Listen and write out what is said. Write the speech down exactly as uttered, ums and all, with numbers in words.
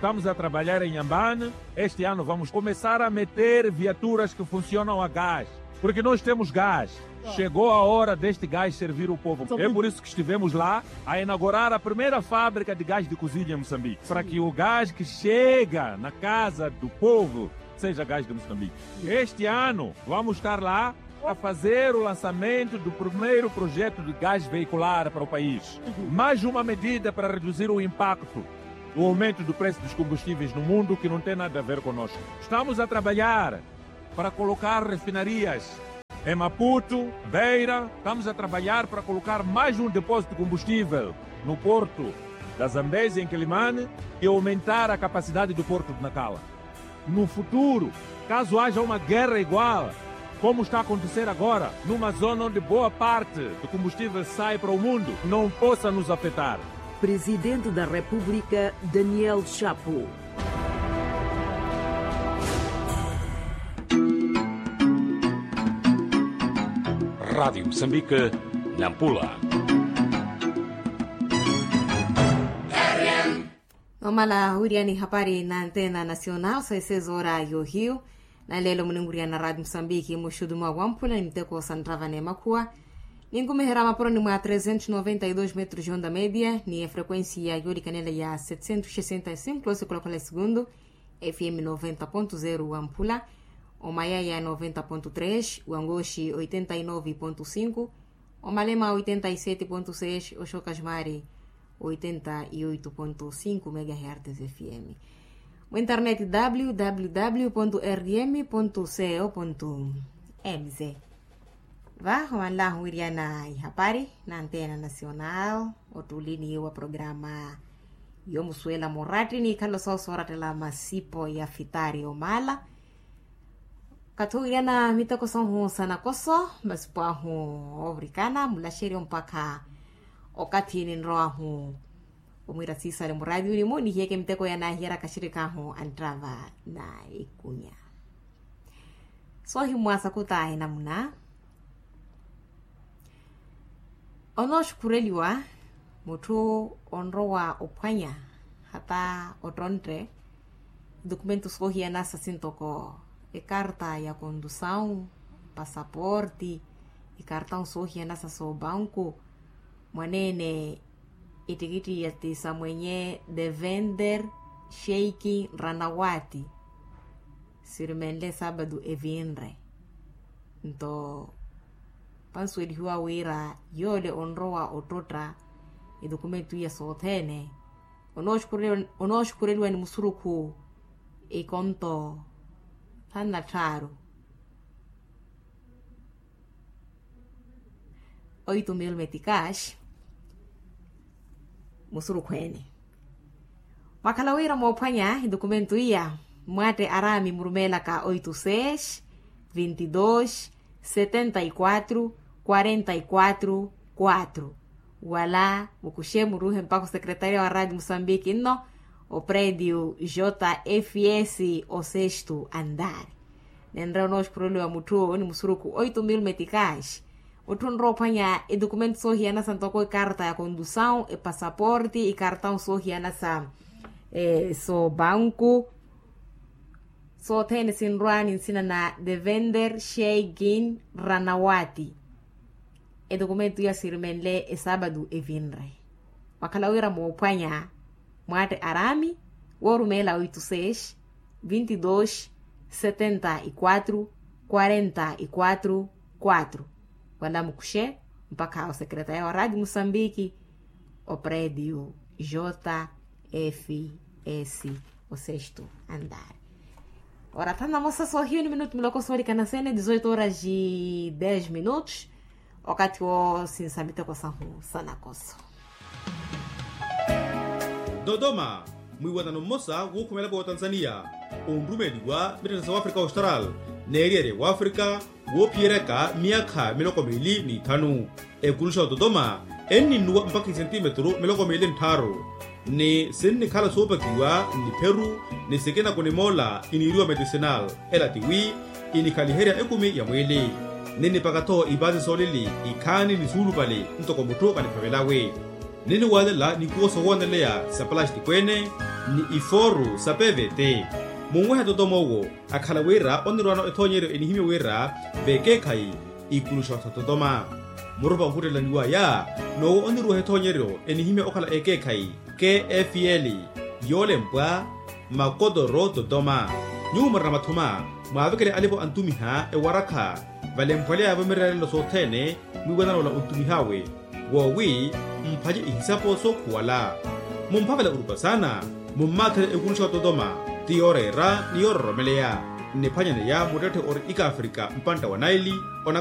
Estamos a trabalhar em Ambane. Este ano vamos começar a meter viaturas que funcionam a gás. Porque nós temos gás. Chegou a hora deste gás servir o povo. É por isso que estivemos lá a inaugurar a primeira fábrica de gás de cozinha em Moçambique, para que o gás que chega na casa do povo seja gás de Moçambique. Este ano vamos estar lá a fazer o lançamento do primeiro projeto de gás veicular para o país. Mais uma medida para reduzir o impacto do aumento do preço dos combustíveis no mundo, que não tem nada a ver conosco. Estamos a trabalhar para colocar refinarias em Maputo, Beira. Estamos a trabalhar para colocar mais um depósito de combustível no porto da Zambézia, em Quelimane, e aumentar a capacidade do porto de Nacala. No futuro, caso haja uma guerra igual, como está a acontecer agora, numa zona onde boa parte do combustível sai para o mundo, não possa nos afetar. Presidente da República, Daniel Chapo. Rádio Moçambique, Nampula. Nomala wiriani hapari na antena nacional sa esezora yohiyu. Na lelo muninwiriana radio musambiki muxudu mwa wamphula ni miteko sa nrava n'emakhuwa. Ninkumiherya mapuroni mwa trezentos noventa e dos metros de onda media ni efrequencia yoolikanela ya setecentos sessenta e cinco losi khulakhola esegundu. Fm noventa ponto zero wamphula, omayaya noventa ponto tres, wangoxi oitenta e nove ponto cinco, omalema oitenta e sete ponto seis, oxoka xumari oitenta e oito ponto cinco megahertes fm. Mu internet www rm co mz. Va omanlahu wiriana ihapari na antena nacional. Ottulini wa programa yomusuwela muratti nikhalo soosoorattela masipo ya fitari omala. Kathi owirana miteko sohu sa nakoso masipo ahu, ovirikana mulaxeryo mpakha okathi ninrowahu omwira siisale muraatiyo nimu nihiyeke miteko yanahiyeraka axirikaahu anttava na ikunya. Soohimwaasa kutaahi namuna onooxukhureliwa mutthu onrowa ophwanya hata ottontte edokumento soohiyanasa sintoko ekarta ya kondusawu, pasaporti, ekartawu soohiyanasa soobanku, mwaneene ettikitti ya tiisa mwenye devender sheiki ranawati. Sirimenle saabadu evinre nto pansuwelihiwa wira yoole onrowa ottotta edokumento iya sothene onooxukhureliwa ni musurukhu ekonto thanu na tthaaru. Oito mil meticas musurukhu ene. Mwakhala wira moophwanya edokumento iya mwatte araami murumeelaka oito seis vinte e dois setenta e quatro quarenta e quatro quatro. Wala mukuxe muruuhe mpakha osekretaria wa radio musambiki nno oprediu jfs osestu andari. Nenre onooxukhureliwa mutthu ni musurukhu oito mil meticas. Mutthu onrowa ophwanya edokumento soohiyanasa ntoko ekarta ya kondusawu epasaporti ekartawu soohiyanasa soobanku. Sothene sinrwa ni nsina na devender sheigin ranawati. Edokumento iya sirimenle esaabadu evinre. Mwakhala wira moophwanya mwatte araami woorumeela oito seis vinte e dois setenta e quatro quarenta e quatro quatro. Wala mukuxe mpakha osekretaria wa radio musambiki oprediu jfs osestu andari. Ora thanu na mosa soohiyu ni minutu miloko soolikana sene dezoito horas de dez minutos. Okathi woosinsa miteko sahu sa nakoso. Dodoma, mwiiwanano mmosa wookhumela vootanzania onrumeliwa mitthana sa wafrika austral n'eriyari wafrika woophiyeryaka myaakha miloko miili ni ithanu. Ekuluxa ototoma enninnuwa mpakha isentimetru miloko miili nttharu ni sinnikhala soopakiwa nnipheru ni sikina kunimoola kiniiriwa medicinal. Ela tiwi kinikhaliherya ekumi ya mwiili ninnipaka-tho ipaasi soolili ikhaani ni suulupale ntoko mutthu kaniphavelawe. Ninniwaalela nikuwo sowooneleya sa palastiko ene ni ifooru sa pevete. Munwehe totoma owo akhala wira onirwaano ethoonyeryo enihimya wira vekeekhayi ikuluxa ototoma. Murupa ohuttelaniwaya n'owo oniruweha ethoonyeryo enihimya okhala ekeekhayi, kfl, yoolempwa makotoro totoma. Nyuwo murina mathuma mwaavekele alipo antumiha ewarakha valemphwaleya vamirerelelo sothene mwiiwanana ola ontumih'awe, woowi mphanye ihisapo sookhuwala. Mumphavela orupa saana mummaathele ekuluxa ototoma ti yooreera ni yoororomeleya. Nniphwanyaneya muttetthe ori ikafrika mpantta wa naili.